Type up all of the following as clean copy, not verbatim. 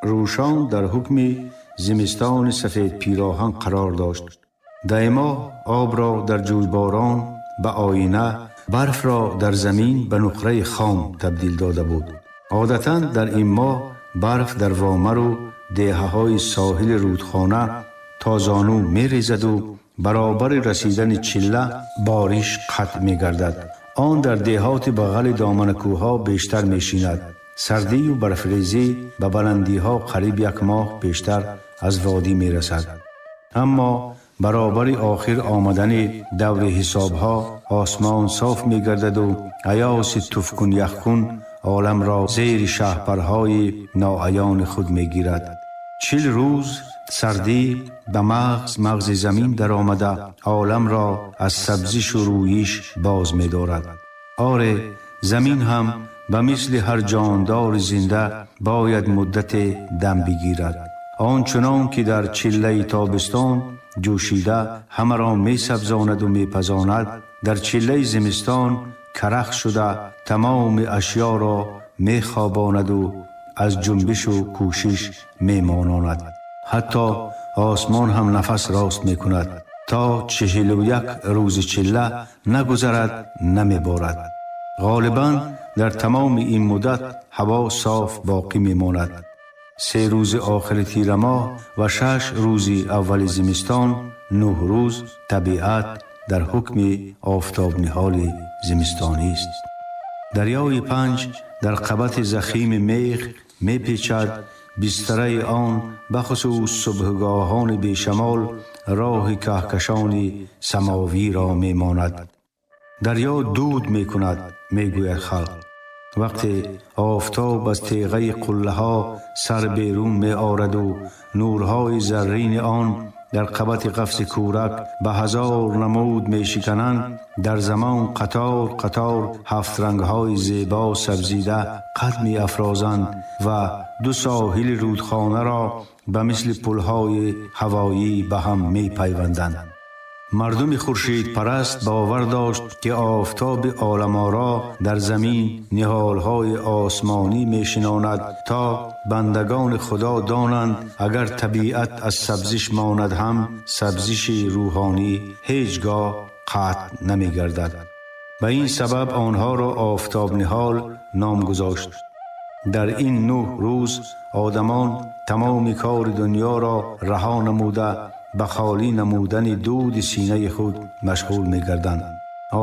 Рӯшон дар ҳукми зимистони сафед пироҳан қарор дошт. Даймоҳ обро дар ҷӯйборон ба оина, барфро дар замин ба нуқраи хом табдил дода буд. Одатан дар ин моҳ барф дар вомару деҳаҳои соҳили рӯдхона то зону мерезаду баробари расидани чилла бориш қатъ мегардад. Он дар деҳоти бағали доманакӯҳҳо бештар мешинад. Сардию барфрезӣ ба баландиҳо қариб як моҳ пештар аз водӣ мерасад. Аммо баробари охир омадани даври ҳисобҳо осмон соф мегардаду аёси туфкун яхкун оламро зери шаҳпарҳои ноаёни худ мегирад. 40 рӯз сардӣ ба мағзи замин даромада оламро аз сабзишу рӯйиш боз медорад. Оре, замин ҳам ба мисли ҳар ҷондори зинда бояд муддате дам бигирад. Он чунон ки дар чиллаи тобистон ҷӯшида ҳамаро месабзонаду мепазонад, дар чиллаи зимистон карах шуда тамоми ашёро мехобонаду аз ҷунбишу кӯшиш мемононад. Ҳатто осмон ҳам нафас рост мекунад. То 41 рӯзи чилла нагузарад, намеборад. Ғолибан дар тамоми ин муддат ҳаво соф боқӣ мемонад. 3 рӯзи охири тирамоҳ ва 6 рӯзи аввали зимистон, 9 рӯз табиат дар ҳукми офтобниҳоли зимистонист. Дарёи Панҷ дар қабати захими мех мепечад. Бистараи он бахусус субҳгоҳони бешамол роҳи каҳкашони самовиро мемонад. Дарё дуд мекунад, мегӯяд халқ. Вақте офтоб аз теғаи қуллаҳо сар берун меораду нурҳои заррини он дар қабати қафси кӯрак ба ҳазор намуд мешикананд, дар замон қатор қатор ҳафтрангҳои зебо сабзида қад меафрозанд ва ду соҳили рӯдхонаро ба мисли пулҳои ҳавоӣ ба ҳам мепайванданд. Мардуми хуршидпараст бовар дошт, ки офтоби оламоро дар замин ниҳолҳои осмонӣ мешинонад, то бандагони Худо донанд, агар табиат аз сабзиш монад ҳам сабзиши рӯҳонӣ ҳеҷ гоҳ қатъ намегардад. Ба ин сабаб онҳоро офтобниҳол ном гузошт. Дар ин 9 рӯз одамон тамоми кори дунёро раҳо намуда ба холӣ намудани дуди синаи худ машғул мегарданд.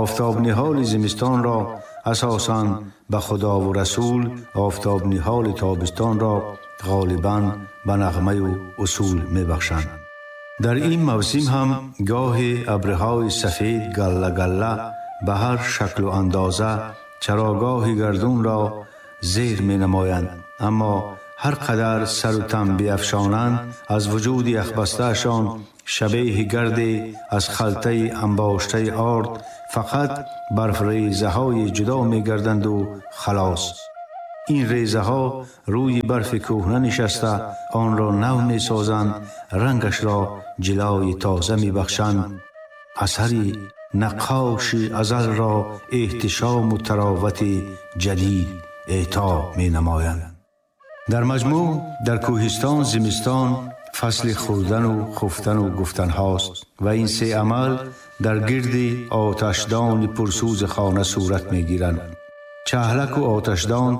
Офтобниҳоли зимистонро асосан ба Худову Расул, офтобниҳоли тобистонро ғолибан ба нағмаю усул мебахшанд. Дар ин мавсим ҳам гоҳе абрҳои сафед галла-галла ба ҳар шаклу андоза чарогоҳи гардунро зер менамоянд, аммо ҳар қадар сару тан биафшонанд, аз вуҷуди яхбастаашон шабеҳи гарде аз халтаи анбоштаи орд фақат барфрезаҳои ҷудо мегарданду халос. Ин резаҳо рӯи барфи кӯҳна нишаста онро нав месозанд, рангашро ҷилои тоза мебахшанд. Асари наққоши азалро эҳтишому таровати ҷадид эъто менамоянд. Дар маҷмӯъ дар кӯҳистон зимистон фасли хӯрдану хуфтану гуфтанҳост ва ин се амал дар гирди оташдони пурсӯзи хона сурат мегиранд. Чаҳлаку оташдон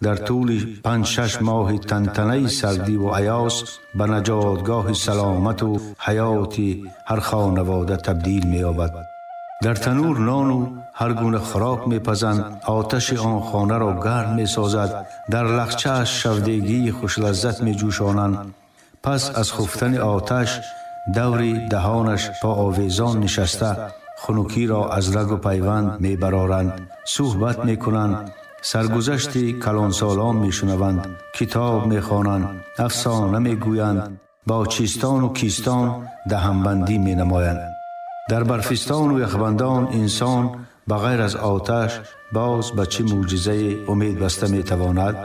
дар тӯли 5-6 моҳи тантанаи сардиву аёз ба наҷотгоҳи саломату ҳаёти ҳар хонавода табдил меёбад. Дар танур нону ҳар гуна хӯрок мепазанд, оташи он хонаро гарм месозад, дар лахчааш шавдегии хушлаззат меҷӯшонанд. Пас аз хуфтани оташ даври даҳонаш по овезон нишаста хунукиро аз рагу пайванд мебароранд, суҳбат мекунанд, саргузашти калонсолон мешунаванд, китоб мехонанд, афсона мегӯянд, бо чистону кистон даҳанбандӣ менамоянд. Дар барфистону яхбандон инсон ба ғайр аз оташ боз ба чӣ мӯъҷизае умед баста метавонад?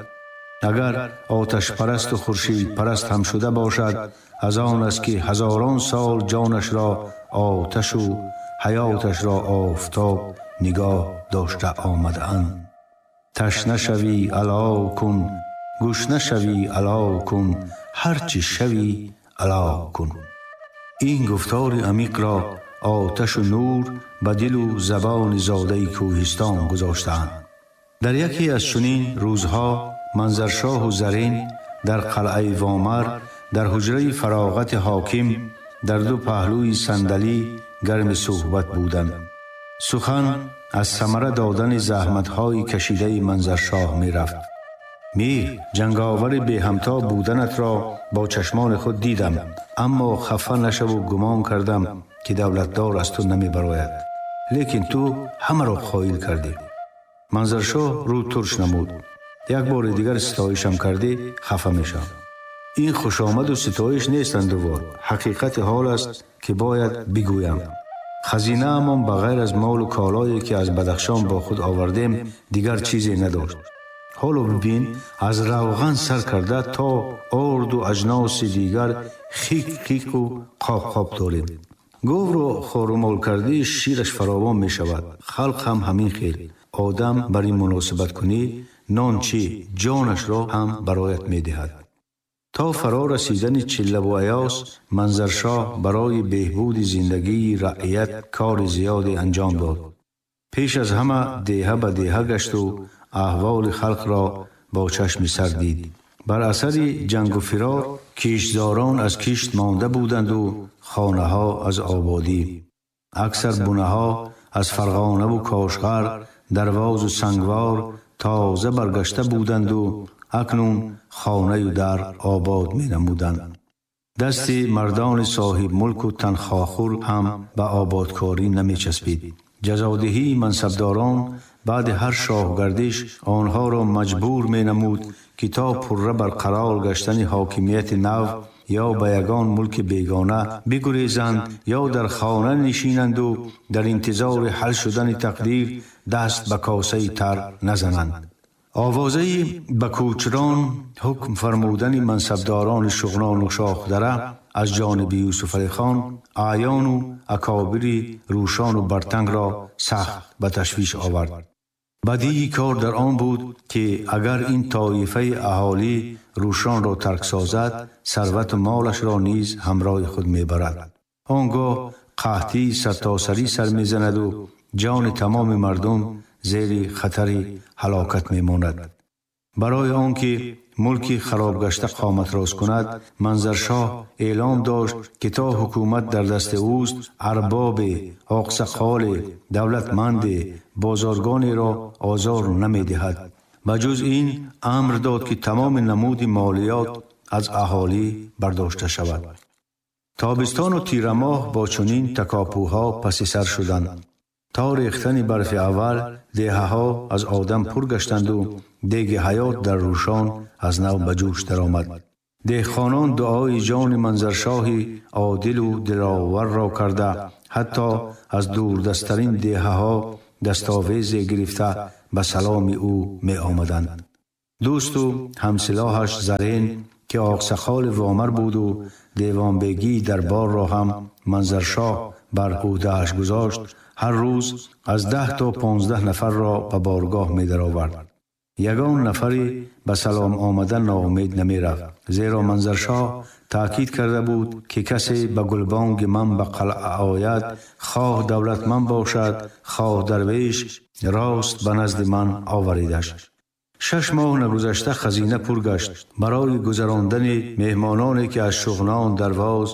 Агар оташпарасту хуршидпараст ҳам шуда бошад, аз он аст ки ҳазорон сол ҷонашро оташу ҳаёташро офтоб нигоҳ дошта омадаанд. Ташна шавӣ алов кун, Гушна шавӣ алав кун, ҳарчи шавӣ алав кун. Ин гуфтори амиқро оташу нур ба дилу забони зодаи кӯҳистон гузоштаанд. Дар яке аз чунин рӯзҳо Манзаршоҳу Зарин дар қалъаи Вомар, дар ҳуҷраи фароғати ҳоким, дар ду паҳлӯи сандалӣ гарми суҳбат буданд. Сухан аз самара додани заҳматҳои кашидаи Манзаршоҳ мерафт. Мир, ҷанговари беҳамто буданатро бо чашмони худ дидам, аммо хафа нашаву гумон кардам, ки давлатдор аз ту намебарояд. Лекин ту ҳамаро қоил кардӣ. Манзаршоҳ рӯ турш намуд. Як бори дигар ситоишам кардӣ, хафа мешавам. Ин хушомаду ситоиш нест, андувор. Ҳақиқати ҳол аст, ки бояд бигӯям. Хазинаамон ба ғайр аз молу колое, ки аз Бадахшон бо худ овардем, дигар чизе надошт. Ҳоло бибин, аз равған сар карда то орду аҷноси дигар хик-хику қоп-қоп дорем. Говро хорумол кардӣ, шираш фаровон мешавад. Халқ ҳам ҳамин хел. Одам бар ин муносибат кунӣ, нон чӣ, ҷонашро ҳам бароят медиҳад. То фаро расидани чиллаву аёс, Манзаршоҳ барои беҳбуди зиндагии раият кори зиёде анҷом дод. Пеш аз ҳама деҳа ба деҳа гашту аҳволи халқро бо чашми сар дид. Бар асари ҷангу фирор киштзорон аз кишт монда буданду хонаҳо аз ободӣ. Аксар бунаҳо аз Фарғонаву Кошғар, Дарвозу Сангвор тоза баргашта буданду акнун хонаю дар обод менамуданд. Дасти мардони соҳибмулку танхоҳхӯр ҳам ба ободкорӣ намечаспид. Ҷазодиҳии мансабдорон баъди ҳар шоҳгардиш онҳоро маҷбур менамуд, ки то пурра барқарор гаштани ҳокимияти нав ё ба ягон мулки бегона бигурезанд, ё дар хона нишинанду дар интизори ҳал шудани тақдир даст ба косаи тар назананд. Овозаи ба кӯчрон ҳукм фармудани мансабдорони Шуғнону Шоҳдара аз ҷониби Юсуфалихон аъёну акобири Рӯшону Бартангро сахт ба ташвиш овард. Бадии кор дар он буд, ки агар ин тоифаи аҳолӣ Рӯшонро тарк созад, сарвату молашро низ ҳамроҳи худ мебарад. Он гоҳ қаҳтии сартосарӣ сар мезанаду ҷони тамоми мардум зери хатари ҳалокат мемонад. Барои он ки мулки харобгашта қомат рост кунад, Манзаршоҳ эълом дошт, ки то ҳукумат дар дасти ӯст, арбобе, оқсақоле, давлатманде, бозоргонеро озор намедиҳад. Ба ҷуз ин амр дод, ки тамоми намуди молиёт аз аҳолӣ бардошта шавад. Тобистону тирамоҳ бо чунин такопӯҳо паси сар шуданд. То рехтани барфи аввал деҳаҳо аз одам пур гаштанду деги ҳаёт дар Рӯшон аз нав ба ҷӯш даромад. Деҳқонон дуои ҷони Манзаршоҳи одилу диловарро карда, ҳатто аз дурдасттарин деҳаҳо дастовезе гирифта ба саломи ӯ меомаданд. Дӯсту ҳамсилоҳаш Зарин, ки оқсақоли Вомар буду девонбегии дарборро ҳам Манзаршоҳ бар ӯҳдааш гузошт, ҳар рӯз аз 10 то 15 нафарро ба боргоҳ медаровард. Ягон нафаре ба салом омадан ноумед намерафт, зеро Манзаршоҳ таъкид карда буд, ки касе ба гулбонги ман ба қалъа ояд, хоҳ давлатманд бошад, хоҳ дарвеш, рост ба назди ман оваридаш. 6 моҳ нагузашта хазина пур гашт. Барои гузарондани меҳмононе, ки аз Шуғнон, Дарвоз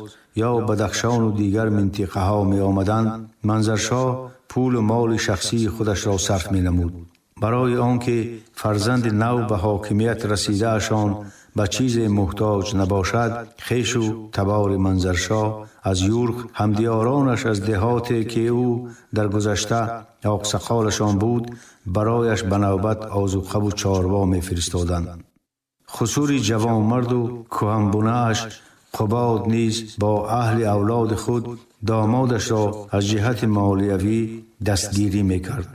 ё Бадахшону дигар минтиқаҳо меомаданд, Манзаршоҳ пулу моли шахсии худашро сарф менамуд. Барои он ки фарзанди нав ба ҳокимият расидаашон ба чизе муҳтоҷ набошад, хешу табори Манзаршоҳ аз Юрх, ҳамдиёронаш аз деҳоте, ки ӯ дар гузашта оқсақолашон буд, барояш ба навбат озуқаву чорво мефиристоданд. Хусури ҷавонмарду кӯҳанбунааш Қубод низ бо аҳли авлоди худ домодашро аз ҷиҳати молиявӣ дастгирӣ мекард.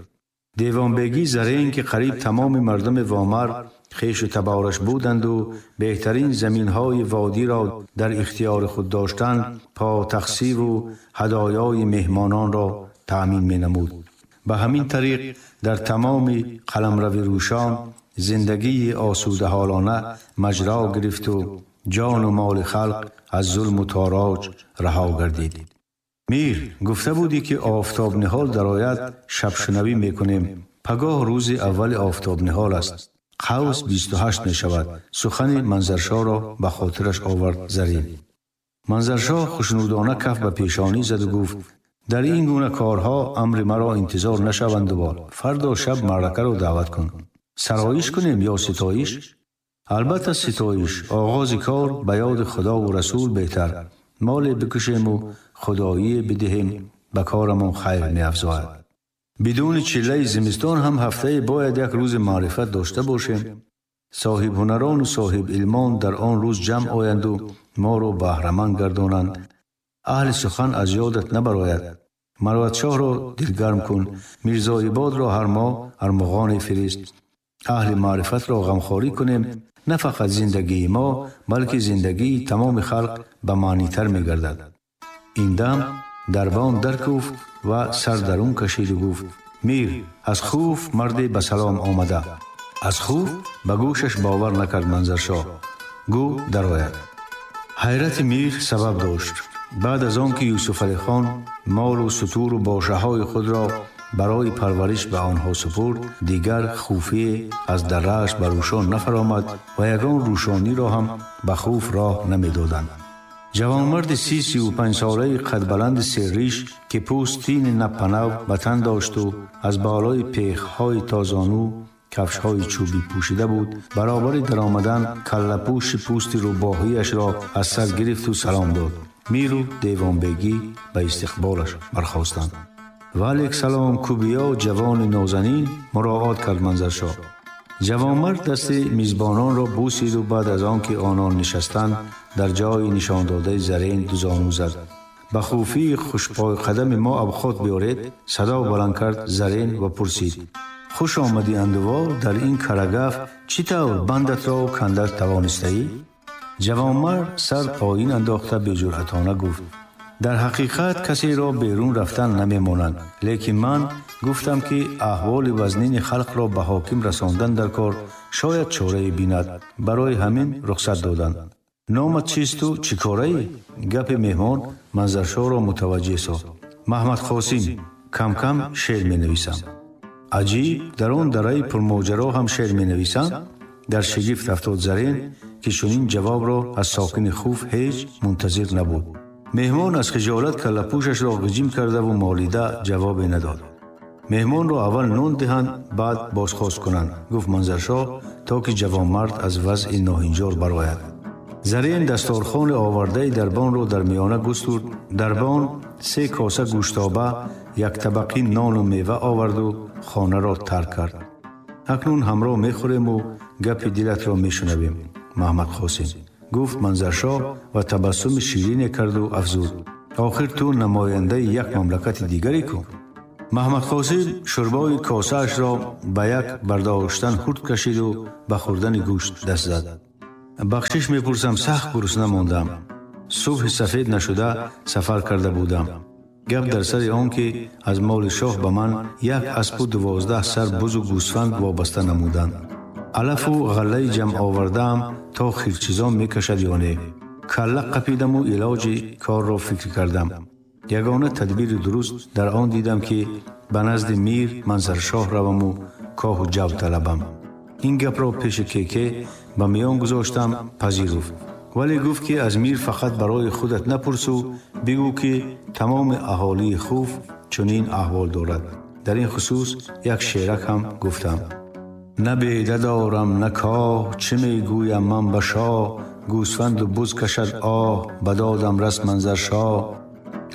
Девонбегӣ Зарин, ки қариб тамоми мардуми Вомар хешу табораш буданду беҳтарин заминҳои водиро дар ихтиёри худ доштанд, потахсиву ҳадоёи меҳмононро таъмин менамуд. Ба ҳамин тариқ дар тамоми қаламрави Рӯшон زندگی آسوده حالانه مجرا گرفت و جان و مال خلق از ظلم و تاراج رها گردید. میر، گفته بودی که آفتاب نهال درآید شب شنوی میکنیم. پگاه روز اول آفتاب نهال است. قوس 28 می شود. سخن منظرشاه را به خاطرش آورد زرین. منظرشاه خوشنودانه کف به پیشانی زد و گفت: در این گونه کارها امر مرا انتظار نشوند و فردا شب معرکه را دعوت کن. سرایش کنیم یا ستایش؟ البته ستایش. آغاز کار به یاد خدا و رسول بهتر. مال بکشیم و خدایی بدهیم، به کارمان خیر می افزاید. بدون چله زمستان هم هفته باید یک روز معرفت داشته باشیم. صاحب هنران و صاحب علمان در آن روز جمع آیند و ما را بهره‌مند گردانند. اهل سخن از یادت نبراید. مروت شاه را دلگرم کن. میرزا عباد را هر ماه ارمغان فرست. اهل معرفت را غمخواری کنیم. نه فقط زندگی ما بلکه زندگی تمام خلق به معنی تر می گردد. این دم دربان درکوفت و سر درون کشید و گفت: میر، از خوف مرد به سلام آمده. از خوف به گوشش باور نکرد منظرشاه. گو درآید. حیرت میر سبب داشت. بعد از آن که یوسف علی خان مال و ستور و باشه های خود را برای پرورش به آنها سپرد، دیگر خوفی از دره‌اش بر روشان نفرآمد و یگان روشانی را هم به خوف راه نمیدادند. جوانمرد 35 ساله قد بلند سرریش که پوستین نپنو به تن داشت و از بالای پیخ‌های تازانو کفش‌های چوبی پوشیده بود، برابر درآمدن کله‌پوش پوست روباهیش را از سر گرفت و سلام داد. میر و دیوانبیگی به استقبالش برخاستند. و علیک سلام کوبیا جوان نازنین، مراعات کرد منظرشاه. جوانمرد دست میزبانان را بوسید و بعد از آن که آنان نشستند در جای نشان داده زرین دو زانو زد. به خوفی خوشپای قدم ما ابخات بیارید، صدا بلند کرد زرین و پرسید: خوش آمدی اندوال، در این کرگف چی طور بندت را کنده توانسته ای؟ جوانمرد سر پایین انداخته به جرأتانه گفت: در حقیقت کسی را بیرون رفتن نمیمانند، لیکن من گفتم که احوال وزنین خلق را به حاکم رساندن در کار شاید چاره بیند، برای همین رخصت دادند. نامت چیست و چی کاره ای؟ گپ مهمان منظرشاه را متوجه ساخت. محمد قاسم، کم کم شعر می نویسم. عجیب، در آن دره پرماجرا هم شعر می نویسم؟ در شگفت افتاد زرین که چنین جواب را از ساکن خوف هیچ منتظر نبود. مهمان از خجالت کله‌پوشش را غجیم کرده و مالیده جواب نداد. مهمان را اول نان دهند بعد بازخواست کنند، گفت منظرشاه تا که جوانمرد از وضع ناهنجار برآید. زرین دستارخوان آورده دربان را در میانه گسترد. دربان 3 کاسه گوشتابه، یک طبقی نان و میوه آورد و خانه را ترک کرد. اکنون همراه میخوریم و گپ دلت را میشنویم محمد قاسم، گفت منظرشاه و تبسم شیرین کرد و افزود: آخر تو نماینده یک مملکت دیگری کن. محمد قاسم شربای کاسه اش را به یک برداشتن خورد کشید و به خوردن گوشت دست زد. بخشش میپرسم، سخت گرسنه ماندم. صبح سفید نشده سفر کرده بودم. گپ در سر آن که از مال شاه به من یک اسب و 12 سر بز و گوسفند وابسته نمودند. علف و غله جمع آوردم تا خیرچیزان میکشد یا نه. کله قپیدم و علاج کار را فکر کردم. یگانه تدبیر درست در آن دیدم که به نزد میر منظرشاه روم و کاه و جو طلبم. این گپ را پیش کیکه به میان گذاشتم، پذیرفت. ولی گفت که از میر فقط برای خودت نپرس و بگو که تمام اهالی خوف چنین احوال دارد. در این خصوص یک شعرک هم گفتم: نه بیده دارم نه کاه، چه میگویم من به شاه، گوسفند و بز کشد آه، بدادم رس منظر شاه.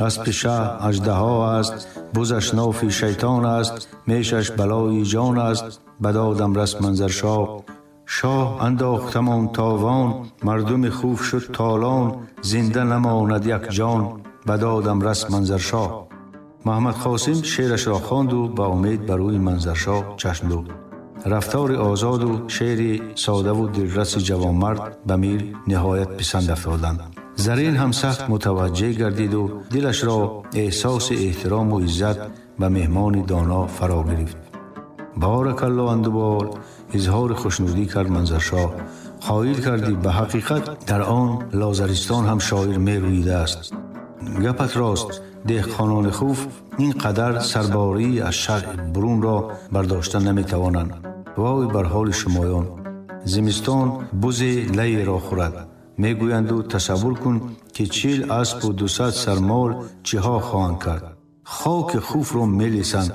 اسب شه اژدها است، بزش نافی شیطان است، میشش بلای جان است، بدادم رس منظر شاه. شاه انداختمان تاوان، مردم خوف شد تالان، زنده نماند یک جان، بدادم رس منظر شاه. محمد قاسم شعرش را خواند و با امید بر روی منظر شاه چشم دوخت. رفتار آزاد و شعر ساده و دلرس جوانمرد به میر نهایت پسند افتادند. زرین هم سخت متوجه گردید و دلش را احساس احترام و عزت به مهمان دانا فرا گرفت. بارک الله اندوال، Изҳори хушнудӣ кард Манзаршоҳ. Қоил кардӣ, ба ҳақиқат дар он Лозаристон ҳам шоир мерӯидааст. Гапат рост, деҳқонони Хуф ин қадар сарборӣ аз шаръ бурунро бардошта наметавонанд. Вой бар ҳоли шумоён! Зимистон бузе лайеро хӯрад. Мегӯянду тасаввур кун, ки 40 аспу 200 сармол чиҳо хоҳанд кард. Хоки Хуфро мелисанд.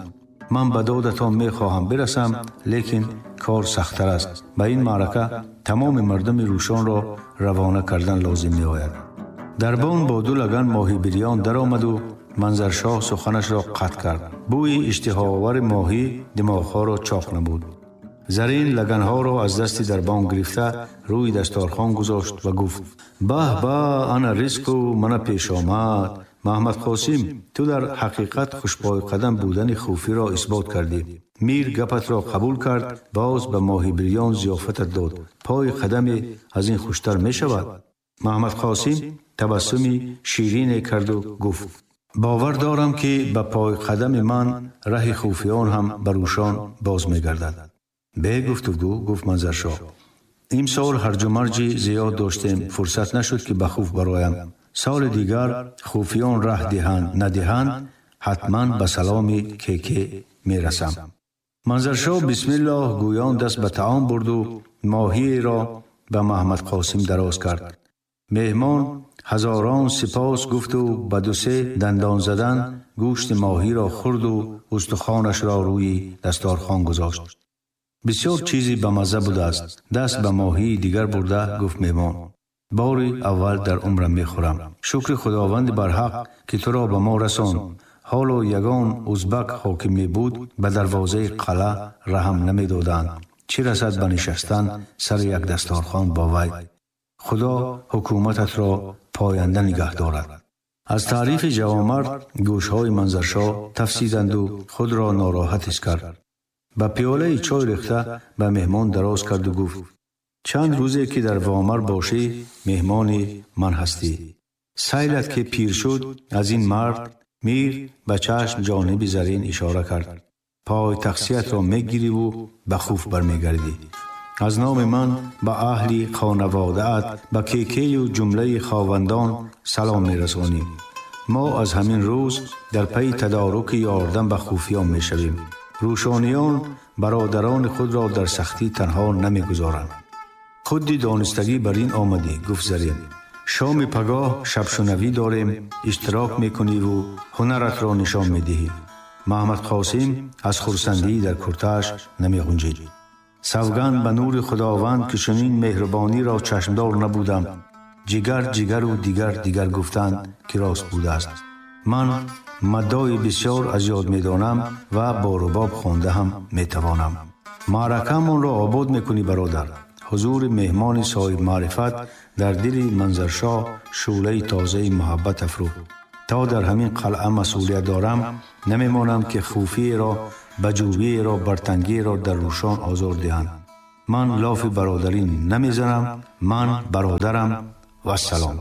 Ман ба додатон мехоҳам бирасам, лекин кор сахттар аст. Ба ин маърака тамоми мардуми Рӯшонро равона кардан лозим меояд. Дарбон бо ду лаган моҳи бирён даромаду Манзаршоҳ суханашро қатъ кард. Бӯи иштиҳоовари моҳӣ димоғҳоро чоқ намуд. Зарин лаганҳоро аз дасти дарбон гирифта рӯи дасторхон гузошт ва гуфт: баҳ ба, ана ризқу мана пешомад. Маҳмад Қосим, ту дар ҳақиқат хушпойқадам будани Хуфиро исбот кардӣ. Мир гапатро қабул кард, боз ба моҳи бирён зиёфатат дод. Пои қадаме аз ин хуштар мешавад? Маҳмад Қосим табассуми ширине карду гуфт: бовар дорам, ки ба пойқадами ман раҳи хуфиён ҳам ба Рӯшон боз мегардад. Бе гуфтугӯ, гуфт Манзаршоҳ. Имсол ҳарҷумарҷи зиёд доштем, фурсат нашуд, ки ба Хуф бароям. Соли дигар хуфиён раҳ диҳанд, надиҳанд, ҳатман ба саломи Кеке мерасам. Манзаршоҳ бисмиллоҳ гӯён даст ба таом бурду моҳиеро ба Маҳмад Қосим дароз кард. Меҳмон ҳазорон сипос гуфту ба ду-се дандон задан гӯшти моҳиро хӯрду устухонашро рӯи дасторхон гузошт. Бисёр чизи ба мазза будааст. Даст ба моҳии дигар бурда гуфт меҳмон: бори аввал дар умрам мехӯрам. Шукри Худованди барҳақ, ки туро ба мо расонд. Ҳоло ягон узбак ҳоким мебуд, ба дарвозаи қалъа раҳм намедоданд. Чӣ расад ба нишастан сари як дасторхон бо вай? Худо ҳукумататро поянда нигаҳ дорад. Аз таърифи ҷавонмард гӯшҳои Манзаршоҳ тафсиданду худро нороҳат ҳис кард. Ба пиёлаи чой рехта ба меҳмон дароз карду гуфт: чанд рӯзе ки дар Вомар бошӣ, меҳмони ман ҳастӣ. Сайлат ки пир шуд, аз ин мард мир ба чашм ҷониби Зарин ишора кард. Пой тақсиятро мегириву ба Хуф бармегардӣ. Аз номи ман ба аҳли хонаводаат, ба Кекею ҷумлаи ховандон салом мерасонӣ. Мо аз ҳамин рӯз дар пайи тадоруки ёрдам ба хуфиён мешавем. Рӯшониён бародарони худро дар сахтӣ танҳо намегузоранд. Худди донистагӣ бар ин омадӣ, гуфт Зарин. Шоми пагоҳ шабшунавӣ дорем, иштирок мекуниву ҳунаратро нишон медиҳӣ. Маҳмад Қосим аз хурсандӣ дар куртааш намеғунҷид. Савганд ба нури Худованд, ки чунин меҳрубониро чашмдор набудам. Ҷигар ҷигару дигар дигар гуфтанд, ки рост будааст. Ман маддои бисёр аз ёд медонам ва бо рубоб хонда ҳам метавонам. Маъракаамонро обод мекунӣ, бародар. Ҳузури меҳмони соҳибмаърифат дар дили Манзаршоҳ шӯълаи тозаи муҳаббат афрӯхт. То дар ҳамин қалъа масъулият дорам, намемонам, ки хуфиеро, баҷӯбиеро, бартангиеро дар Рӯшон озор диҳанд. Ман лофи бародарӣ намезанам, ман бародарам. Вассалом.